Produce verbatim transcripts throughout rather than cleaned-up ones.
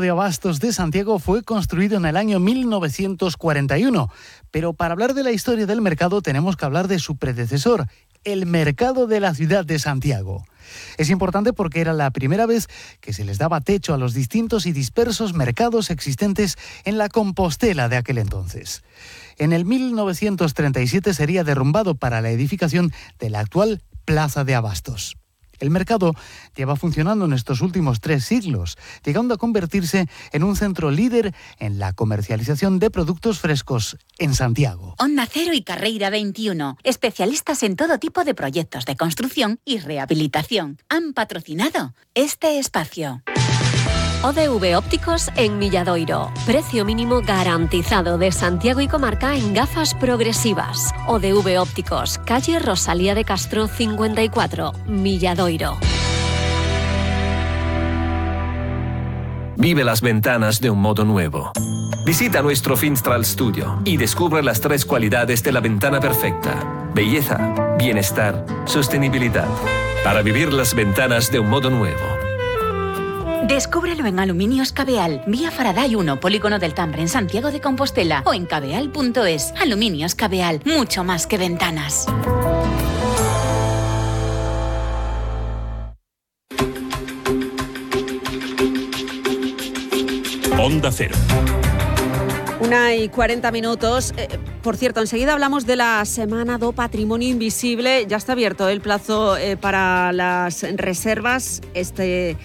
de Abastos de Santiago fue construido en el año mil novecientos cuarenta y uno, pero para hablar de la historia del mercado tenemos que hablar de su predecesor, el mercado de la ciudad de Santiago. Es importante porque era la primera vez que se les daba techo a los distintos y dispersos mercados existentes en la Compostela de aquel entonces. En el mil novecientos treinta y siete sería derrumbado para la edificación de la actual Plaza de Abastos. El mercado lleva funcionando en estos últimos tres siglos, llegando a convertirse en un centro líder en la comercialización de productos frescos en Santiago. Onda Cero y Carreira veintiuno, especialistas en todo tipo de proyectos de construcción y rehabilitación, han patrocinado este espacio. O D V Ópticos en Milladoiro. Precio mínimo garantizado de Santiago y comarca en gafas progresivas. O D V Ópticos, calle Rosalía de Castro cincuenta y cuatro, Milladoiro. Vive las ventanas de un modo nuevo. Visita nuestro Finstral Studio y descubre las tres cualidades de la ventana perfecta: belleza, bienestar, sostenibilidad. Para vivir las ventanas de un modo nuevo. Descúbrelo en Aluminios Cabeal, vía Faraday uno, Polígono del Tambre, en Santiago de Compostela, o en cabeal punto es. Aluminios Cabeal, mucho más que ventanas. Onda Cero. Una y cuarenta minutos. Eh, por cierto, enseguida hablamos de la Semana do Patrimonio Invisible. Ya está abierto el plazo eh, para las reservas. Este...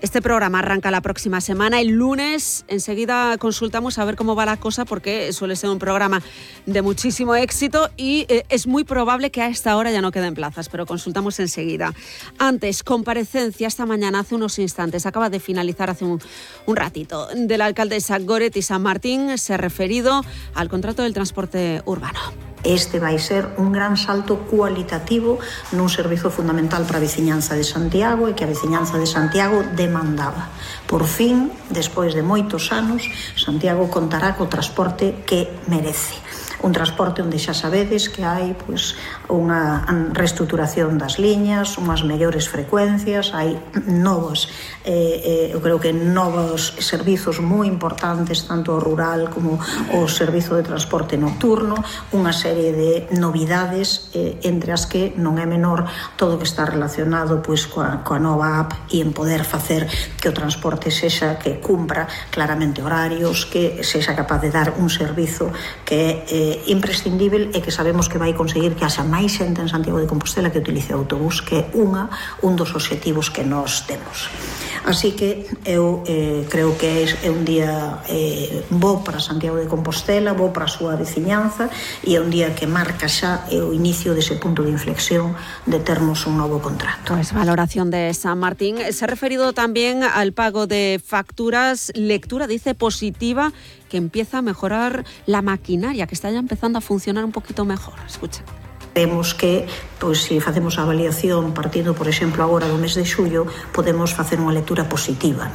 Este programa arranca la próxima semana, el lunes. Enseguida consultamos a ver cómo va la cosa, porque suele ser un programa de muchísimo éxito y eh, es muy probable que a esta hora ya no queden plazas, pero consultamos enseguida. Antes, comparecencia esta mañana, hace unos instantes, acaba de finalizar hace un, un ratito, de la alcaldesa Goretti San Martín, se ha referido al contrato del transporte urbano. Este vai ser un gran salto cualitativo nun servizo fundamental para a veciñanza de Santiago e que a veciñanza de Santiago demandaba. Por fin, despois de moitos anos, Santiago contará co transporte que merece. Un transporte onde xa sabedes que hai pois, unha reestruturación das liñas, unhas mellores frecuencias, hai novos, eh, eh, eu creo que novos servizos moi importantes, tanto o rural como o servizo de transporte nocturno, unha serie de novidades, eh, entre as que non é menor todo o que está relacionado pois, coa, coa nova app e en poder facer que o transporte sexa que cumpra claramente horarios, que sexa capaz de dar un servizo que é eh, imprescindível e que sabemos que vai conseguir que haxa máis xente en Santiago de Compostela que utilice o autobús, que é unha, un dos obxectivos que nós temos. Así que eu eh, creo que é un día eh, bo para Santiago de Compostela, bo para a súa veciñanza, e é un día que marca xa o inicio dese punto de inflexión de termos un novo contrato. Pues valoración de San Martín. Se ha referido también al pago de facturas, lectura, dice, positiva, que empieza a mejorar la maquinaria, que está ya empezando a funcionar un poquito mejor. Escucha. Vemos que, pois, se facemos a avaliación partindo, por exemplo, agora do mes de xullo, podemos facer unha lectura positiva.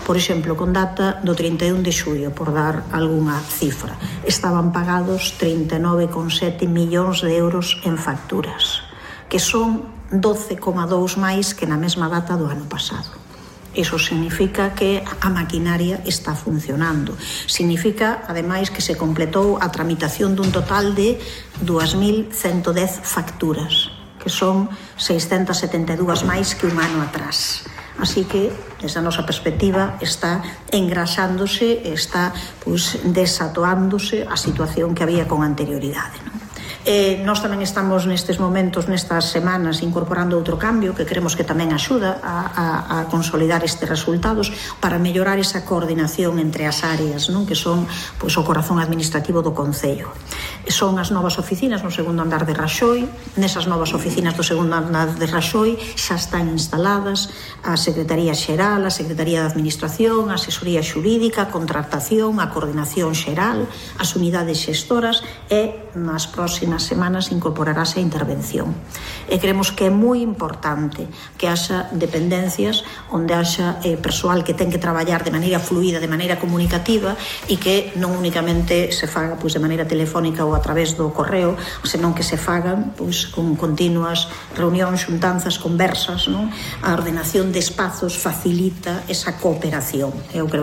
Por exemplo, con data do trinta e un de xullo, por dar algunha cifra, estaban pagados trinta e nove coma sete millóns de euros en facturas, que son doce coma dous máis que na mesma data do ano pasado. Iso significa que a maquinaria está funcionando. Significa, ademais, que se completou a tramitación dun total de dúas mil ciento dez facturas, que son seiscentas setenta e dúas máis que un ano atrás. Así que, desde a nosa perspectiva, está engraxándose, está pues, desatoándose a situación que había con anterioridade, non? Eh, nós tamén estamos nestes momentos, nestas semanas, incorporando outro cambio que creemos que tamén axuda a, a, a consolidar estes resultados para mellorar esa coordinación entre as áreas, non? Que son pois, o corazón administrativo do Concello. Son as novas oficinas no segundo andar de Raxoi. Nesas novas oficinas do segundo andar de Raxoi xa están instaladas a Secretaría Xeral, a Secretaría de Administración, a Asesoría Xurídica, a Contratación, a Coordinación Xeral, as unidades xestoras e nas próximas próximas semanas incorporarase a intervención. E creemos que é moi importante que haxa dependencias onde haxa eh, persoal que ten que traballar de maneira fluida, de maneira comunicativa e que non únicamente se faga pois, de maneira telefónica ou a través do correo, senón que se fagan pois, con continuas reunións, xuntanzas, conversas, non? A ordenación de espazos facilita esa cooperación. Eu creo